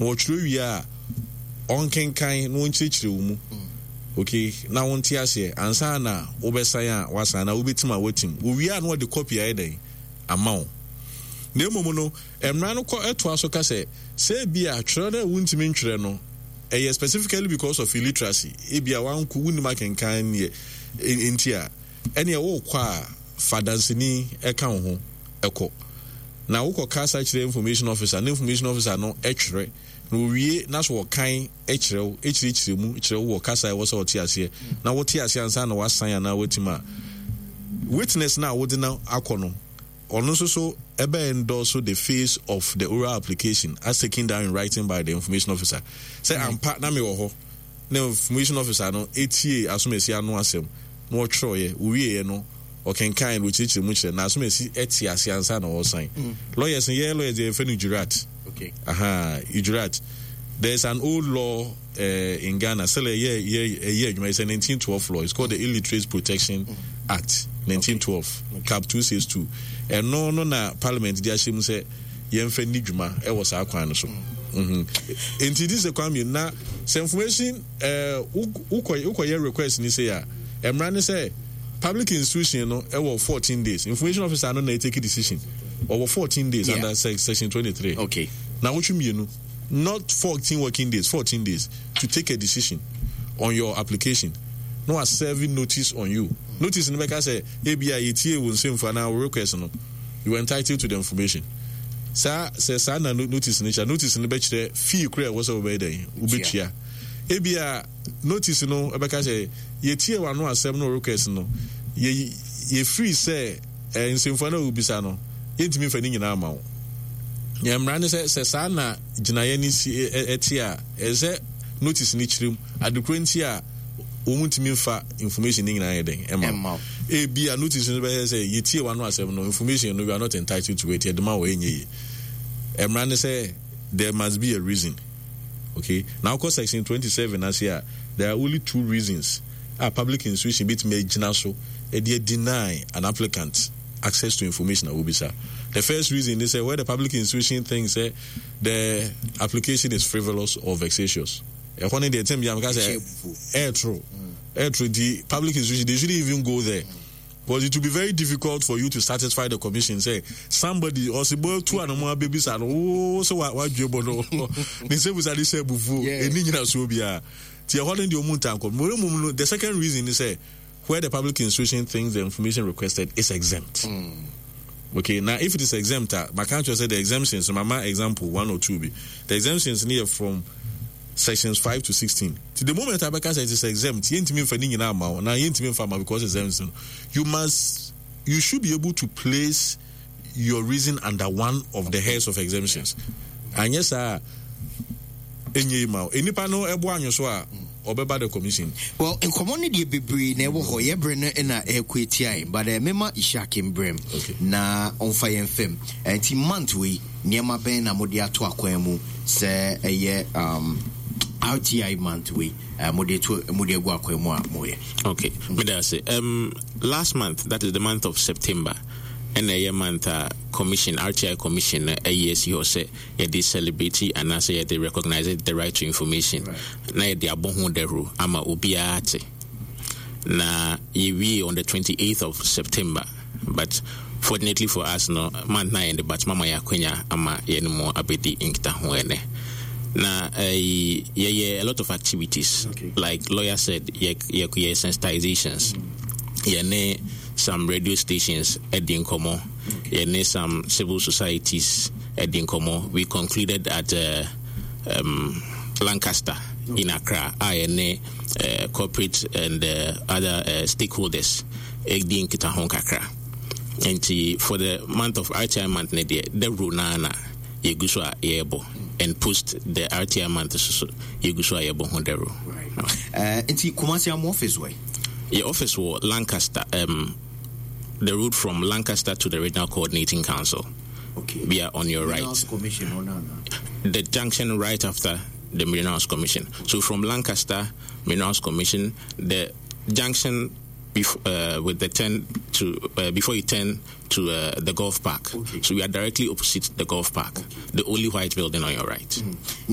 Na ɔtwerɛ wie a, ɔnkenkan na ɔnkyerɛkyerɛ wo mu. Okay, na wonte aseɛ ansa na wobɛsan a wasan na wobɛtim a watim. Owie a na ɔde copy ayɛ dɛn ama wo. Na mmom no, mmara no kɔ ɛtoa so ka sɛ, sɛ ebia twerɛ no a wontumi ntwerɛ no, ɛyɛ specifically because of illiteracy, ebia wanko wonnim akenkan neɛ nti a, ɛneɛ wokɔ a fa danseni ɛka wo ho ɛkɔ. Na wokɔ kasa kyerɛ information officer na information officer no twerɛ na owie na so ɔkan kyerɛ wo, kyerɛkyerɛ mu kyerɛ wo wɔ kasa a ɛwɔ sɛ ɔte aseɛ na wote aseɛ ansa na wasan anaa watim a, witness no a wode no akɔ no ɔno nso so ɛbɛ endorse the face of the oral application as taken down in writing by the information officer sɛ ampa na mewɔ hɔ na information officer no tiee asomasi ano asɛm na ɔtwerɛeɛ, ɔwieeɛ no ɔkenkan na ɔkyerɛkyerɛ mu kyerɛ na asomasi te ase ansa na ɔresan. Lawyers no, yɛn lawyers deɛ yɛfrɛ no jurat. Okay. Aha, jurat. There is an old law in Ghana, sɛ ɛyɛ yɛ ɛyɛ adwuma, it's a 1912 law. It's called the Illiterates Protection Act, 1912, okay. Cap 262. Ɛno no na Parliament de ahyɛ mu sɛ yɛmfa nni dwuma wɔ saa kwan no so. Nti di sɛ kwan mmienu na sɛ information wokɔ wokɔyɛ request ni sɛ a, mmara ne sɛ public institution no ɛwɔ 14 days. Information officer no na take decision. Ɔwɔ 14 days under section 23. Okay. Na wotwe mmienu, not 14 working days, 14 days to take a decision on your application. No wa serving notice on you. Notice no bɛka sɛ ebi a yɛtie wo nsɛmfua anaa wo request no. You are entitled to the information. Saa sɛ saa na notice no kyerɛ, notice no bɛkyerɛ fee kora ɛwɔ sɛ wobɛyɛ dɛn wobɛtua. Ebia notice no ɛbɛka sɛ yɛtie w'ano asɛm no request no, yɛ yɛfiri sɛ eh, nsɛmfua no a wobisa no yɛntumi mfa ne nyinaa ma wo. Yɛn mmara ne sɛ sɛ saa na gyinaeɛ no si ɛte a, ɛsɛ sɛ notice no kyerɛ mu adekoro nti a wɔn ntumi nfa information ne nyinaa yɛ dɛn ɛma wo. Ebia notice no bɛyɛ sɛ yɛtie w'ano asɛm no, information no you are not entitled to it, yɛde ma wɔ ɛnyɛ yie. Mmara ne sɛ there must be a reason. Okay, na wokɔ section 27 ase a, there are only two reasons a public institution betumi agyina so de deny an applicant access to information a wobisa. The first reason is sɛ where the public institution thinks sɛ the application is frivolous or vexatious. Ɛhɔ no deɛ tɛm bi a meka sɛ ɛɛtoro ɛɛtoro nti public institution, they shouldn't even go there. Because it will be very difficult for you to satisfy the commission sɛ somebody ɔsebɔ tu anamɔ abɛbisa no wo sɛ wadwe bɔ no ne nsɛ busa de hyɛ abufuo ɛni nyinasoɔ biara nti ɛhɔ no deɛ ɔmu ntankɔ mmom no. The second reason is sɛ where the public institution thinks the information requested is exempt. Okay, now if it is exempt, maka kyerɛ sɛ the exemptions, mama example one or two bi. The exemptions no yɛ from sections 5 to 16. Ti the moment abɛka sɛ it is exempt, yɛntumi nfa ne nyinaa ma wo na yɛntumi nfa ma because exempt no, you should be able to place your reason under one of the heads of exemptions. Anyɛ saa ɛnyɛ yi ma wo. Nnipa no ɛbo anwo so a, ɔbɛba the commission. Well, nkɔmmɔ no deɛ bebree na ɛwɔ hɔ. Yɛ berɛ no na ɛrekɔ atia yɛn. But mema Ishak mbrɛm na ɔmfa yɛn fam. Nti month wei, nneɛma bɛn na mode ato akwan mu sɛ ɛyɛ RTI month wei mode to mode agu akwan mu a moyɛ? Okay, meda ase. Last month, that is the month of September, ɛna ɛyɛ month a commission, RTI commission no ayi asi hɔ sɛ yɛde celebrate anaasɛ yɛde recognize the right to information na yɛde abɔ ho dawuro ama obiara ate. Na yɛwie on the 28th of September, but fortunately for us no, month na yɛn de, but mama yɛ akwanya ama yɛne mo abɛdi nkitaho ɛnɛ. Na yɛyɛ a lot of activities. Like lawyer said, yɛ sensitizations, yɛne some radio stations ɛdi nkɔmmɔ, yɛne some civil societies ɛdi nkɔmmɔ. We concluded at Lancaster in Accra a yɛne corporate and other stakeholders ɛdi nkitaho kakra. Nti for the month of RTI month ne deɛ, dawuro naa na yɛgu so a yɛrebɔ, and post the RTI month so yɛgu so a yɛbɔ ho dawuro. Nti Kumasi amo office wɔ? Yɛ office wɔ Lancaster, the road from Lancaster to the Regional Coordinating Council. We are on your right. Minerals Commission, oh, no. The junction right after the Minerals Commission. So from Lancaster Minerals Commission, the junction with the turn to before you turn to the golf park. So we are directly opposite the golf park, the only white building on your right.